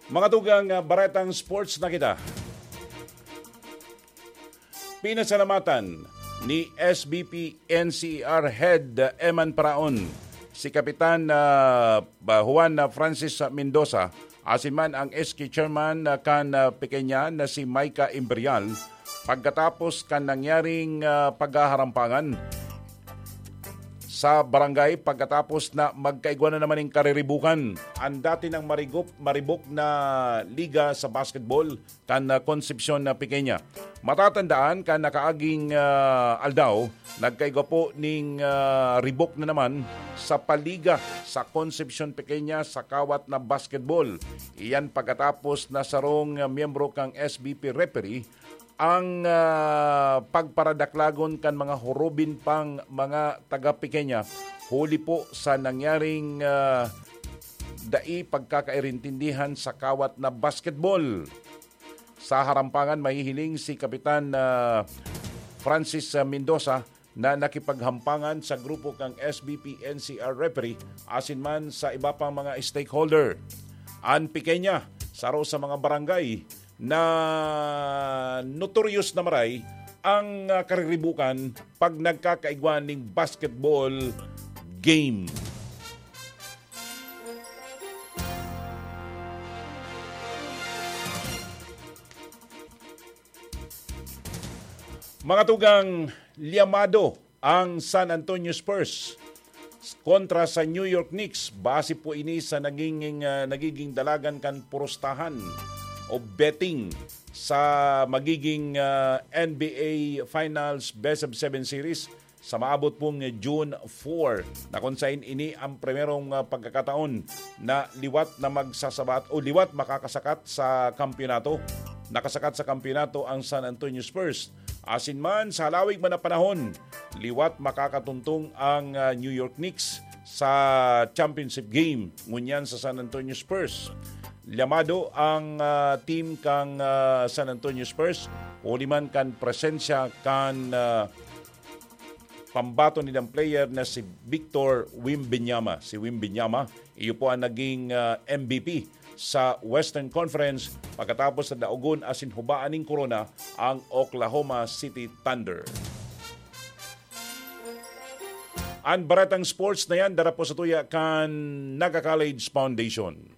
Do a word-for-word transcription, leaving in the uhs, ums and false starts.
Mga tugang, ah, baretang sports na kita. Pinasalamatan ni S B P N C R Head, ah, Eman Paraon, si Kapitan, ah, ba-, Juan, ah, Francis, ah, Mendoza, asin man ang S K Chairman, ah, kan, ah, Pequeña na si Micah Imperial, pagkatapos kan nangyaring, ah, paghaharampangan sa barangay, pagkatapos na magkaigwa na naman ning kariribukan. Ang dati nang marigop-, maribok na liga sa basketball kan, ah, Concepcion na Pequeña. Matatandaan kan nakaaging, ah, aldaw, nagkaigwa po ning, ah, ribok na naman sa paliga sa Concepcion Pequeña sa kawat na basketball. Iyan pagkatapos na sarong, ah, miyembro kang S B P referee ang, ah, pagparadaklagon kan mga horobin pang mga taga Pequeña huli po sa nangyaring, ah, dai pagkakairintindihan sa kawat na basketball. Sa harampangan, mahihiling si Kapitan, ah, Francis, ah, Mendoza na nakipaghampangan sa grupo kan S B P N C R referee asin man sa iba pang mga stakeholder. An Pequeña, saro sa mga barangay na notorious na maray ang, ah, kariribukan pag nagkakaigwa ning basketball game. Mga tugang, liyamado ang San Antonio Spurs kontra sa New York Knicks. Base po ini sa nagiging, ah, nagiging dalagan kan purustahan o betting sa magiging, ah, N B A Finals Best of Seven Series sa maabot pong June four, na kung sain ini ang primerong, ah, pagkakataon na liwat na magsasabat o liwat makakasakat sa kampiyonato. Nakasakat sa kampiyonato ang San Antonio Spurs. Asin man, sa halawig man na panahon, liwat makakatuntong ang, ah, New York Knicks sa championship game ngunyan sa San Antonio Spurs. Liyamado ang, ah, team kang, ah, San Antonio Spurs, huli man kan presensya kan, ah, pambaton nindang player na si Victor Wembanyama. Si Wembanyama, iyo po ang naging, ah, M V P sa Western Conference pagkatapos na daogon asin hubaan ning korona ang Oklahoma City Thunder. An baretang sports na yan, dara po sa tuya kan Naga College Foundation.